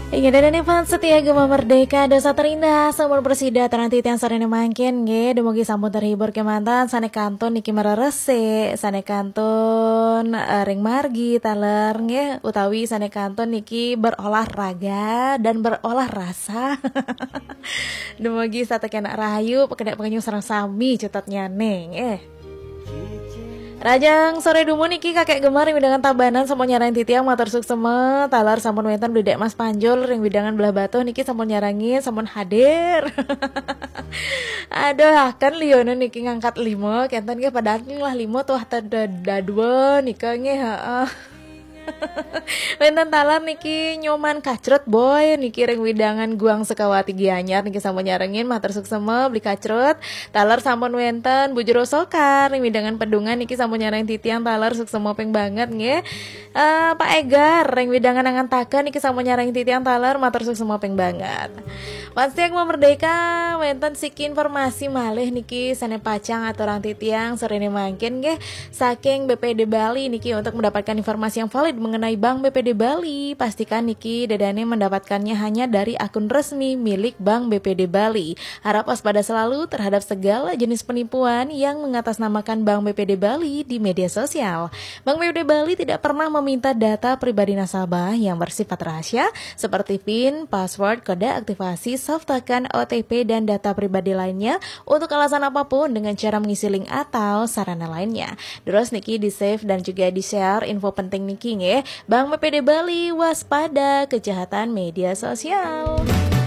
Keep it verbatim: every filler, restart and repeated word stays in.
Inggih, dan ini fans setia Gema Merdeka, dosa terindah, sampun prasida atur ring titiang sareng mangkin, nggih, dumugi sampun terhibur kemanten, sane kantun niki mareresi, sane kantun, eh, ring margi taler, nggih, utawi sane kantun niki berolahraga dan berolah rasa. Dumugi setata kenak rahayu, pakenak pangenyung sareng sami cutetnyane, nggih. Rahajeng sore dumun niki Kakek Gemar ring wewidangan Tabanan sampun nyarengin titiang matur suksma, taler sampun wenten Beli Dek Mas Panjul ring wewidangan Blahbatuh niki sampun nyarengin, sampun hadir. Aduh, akan liona niki ngangkat lima, kenten nggih padahal lah lima tuah tada dadua nika nggih, heeh. Wenten taler niki Nyoman Kacrut Boy niki ring wewidangan Guang Sukawati Gianyar niki sampun nyarengin, matur suksma Beli Kacrut. Taler sampun wenten Bu Jero Sokar ring wewidangan Pedungan niki sampun nyarengin titiang, taler suksma ping banget nggih. Eh, Pak Egar ring wewidangan Angantaka niki sampun nyarengin titiang, taler matur suksma ping banget. Fans setia Gema Merdeka, wenten siki informasi malih niki sane pacang aturang titiang sorene mangkin nggih. Saking B P D Bali niki, untuk mendapatkan informasi yang valid mengenai Bank B P D Bali, pastikan niki dadane mendapatkannya hanya dari akun resmi milik Bank B P D Bali. Harap waspada selalu terhadap segala jenis penipuan yang mengatasnamakan Bank B P D Bali di media sosial. Bank B P D Bali tidak pernah meminta data pribadi nasabah yang bersifat rahasia seperti pin, password, kode aktivasi, soft token, O T P, dan data pribadi lainnya untuk alasan apapun dengan cara mengisi link atau sarana lainnya. Terus niki di-save dan juga di-share info penting niki nggih. Bank B P D Bali, waspada kejahatan media sosial.